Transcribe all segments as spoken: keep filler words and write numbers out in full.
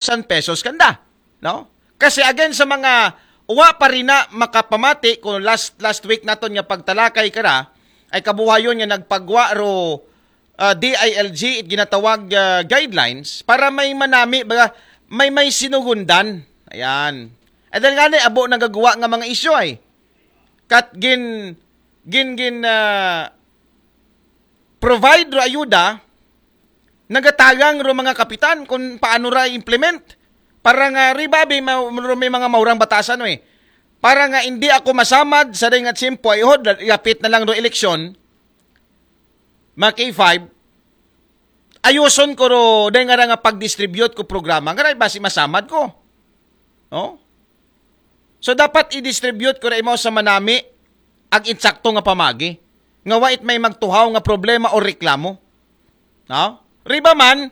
thousand pesos kanda, no? Kasi again, sa mga wa pa rin na makapamati, kung last last week naton nga pagtalakay kara, ay kabuhayon nga nagpagwa ro, ah, D I L G, it ginatawag, ah, guidelines para may manami ba, may may sinugundan. Ayan. Ay dahil nga ni abo nagagawa nga mga isyu ay kat gin gin gin ah, provide ro ayuda, nagatagang ro mga kapitan kung paano ra implement para nga ribabi ma, ro may mga maurang batasan, eh, para nga hindi ako masamad sa day nga tiyempo ay hod, yapit na lang ro eleksyon, mga K five, ayuson ko ro day nga ra nga pag-distribute ko programa nga ra basi masamad ko, no? So dapat i-distribute ko ra imaw sa manami ag insakto nga pamagi nga wa it may magtuhaw nga problema o reklamo. No? Riba man,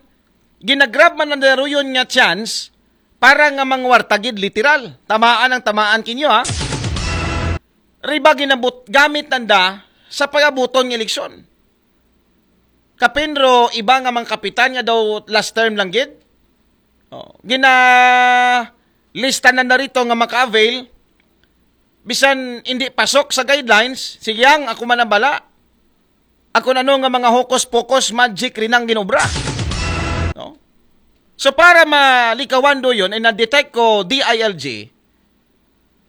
ginagrab man ang daruyon nga chance para nga mangwarta gid literal. Tamaan ang tamaan kinyo, ha. Riba ginabut gamit nanda sa pagabuton nga eleksyon. Kapin ro iba nga mga kapitan nga daw last term lang gid. Oh, gina lista na narito nga maka-avail bisan hindi pasok sa guidelines, sige ang ako man ang bala. Ako na no nga mga hokus-pokus, magic rin ang ginobra. No? So para malikawan do yun, ay na-detect ko D I L G,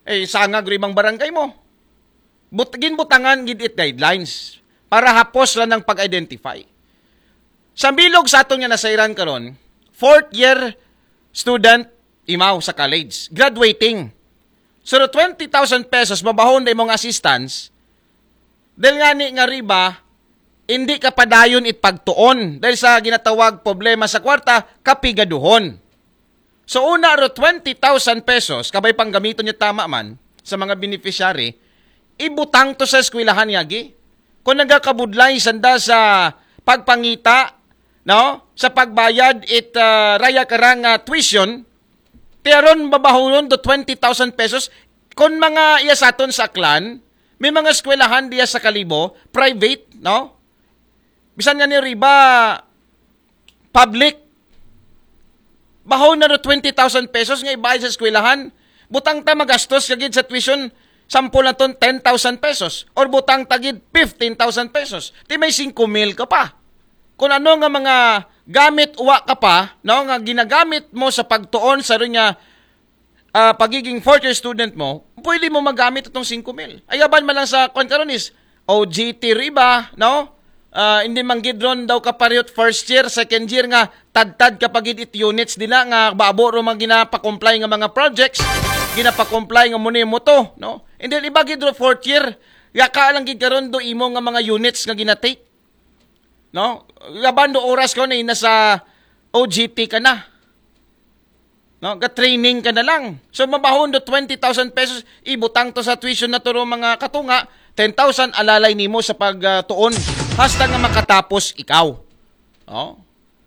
eh, sangag rin ibang barangay mo. But, ginbutangan gid it guidelines para hapos lang ng pag-identify. Sa bilog sa aton nga nasairan karon, fourth year student imaw sa college, graduating. So, twenty thousand pesos, mabahon na imong assistance, dahil nga ni nga riba, hindi ka padayon it pagtuon dahil sa ginatawag problema sa kwarta, kapigaduhon. So, una ro twenty thousand pesos, kabay pang gamiton niya tama man sa mga beneficiary, ibutang to sa eskwelahan yagi. Kung nagakabudlay sanda sa pagpangita, no? Sa pagbayad it, ah, raya karang, ah, tuition, tiyaron babahuron do twenty thousand pesos. Kung mga iya sa aton sa Aklan, may mga eskwelahan diya sa Kalibo, private, no? Bisan nga ni riba, public, bahon na do twenty thousand pesos nga ibayad sa eskwelahan. Butang ta magastos kagid sa tuition, sample na ton ten thousand pesos or butang ta gid fifteen thousand pesos. Ti may singko mil ka pa. Kung ano nga mga gamit uwa ka pa, no, nga ginagamit mo sa pagtuon sa rin nga, ah, pagiging fourth year student mo, pwede mo magamit itong singko mil. Ayaban man lang sa kwan karon is, O G T riba, no? Ah, hindi man gid ron daw kaparehot first year, second year nga tadtad ka pa gid it units dila nga babo ro mga ginapakomply nga mga projects, ginapakomply nga muni mo to, no? And then iba gid ro fourth year, yaka lang gid karon do imo nga mga units nga ginatake, no? Laban do oras ko na nasa O G T ka na. No, ga-training ka na lang. So, mabahon do twenty thousand pesos, ibutang to sa tuition na to ro mga katunga, ten thousand alalay nimo sa pagtuon hasta nga makatapos ikaw. Oh.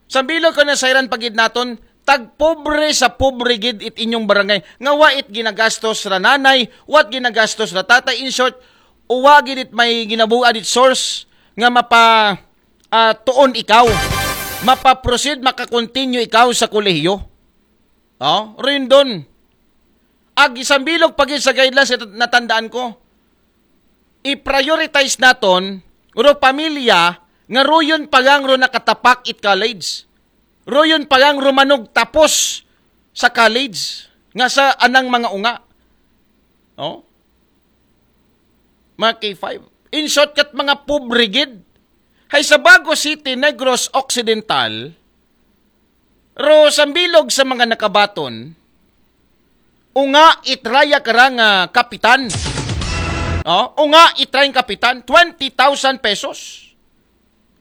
Sa bilog ko na sayran pagid naton, tagpobre sa pobre gid it inyong barangay. Nga wa it ginagastos ra nanay, wa it ginagastos ra tatay. In short, uwa gid it may ginabuad it source nga mapa, ah, tuon ikaw. Mapa-proceed, maka-continue ikaw sa kolehiyo. Oh, Rendon. Ag isang bilog pagid sa guidelines, nat-, natandaan ko. I-prioritize naton, ro pamilya, nga ruyon pa lang ro nakatapak it college. Ruyon pa lang rumanog tapos sa college, nga sa anang mga unga. Oh? Mga K five. In short, kat mga pobre gid. Hay sa Bago City, Negros Occidental, ro sa bilog sa mga nakabaton, unga itraya karang, ah, kapitan. Oh, unga itrayang kapitan, twenty thousand pesos.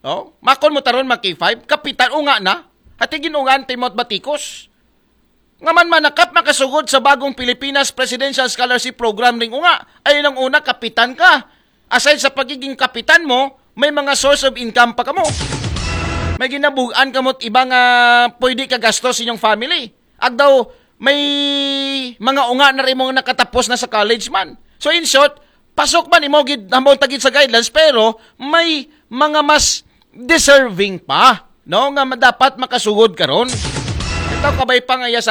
Oh, makon mo taron mga K five, kapitan unga na. Hati ginungan ti mo't batikos. Nga man manakap makasugod sa bagong Pilipinas Presidential Scholarship Program ring unga. Ay nang una, kapitan ka. Aside sa pagiging kapitan mo, may mga source of income pa kamo. May ginabugan kamo't iba nga pwede ka gastos sa inyong family. Agdaw, may mga unga na rin mong nakatapos na sa college man. So in short, pasok man imo gid, hamon tagid sa guidelines, pero may mga mas deserving pa, no, nga ma-, dapat makasugod karon. Daw kabay pa nga iya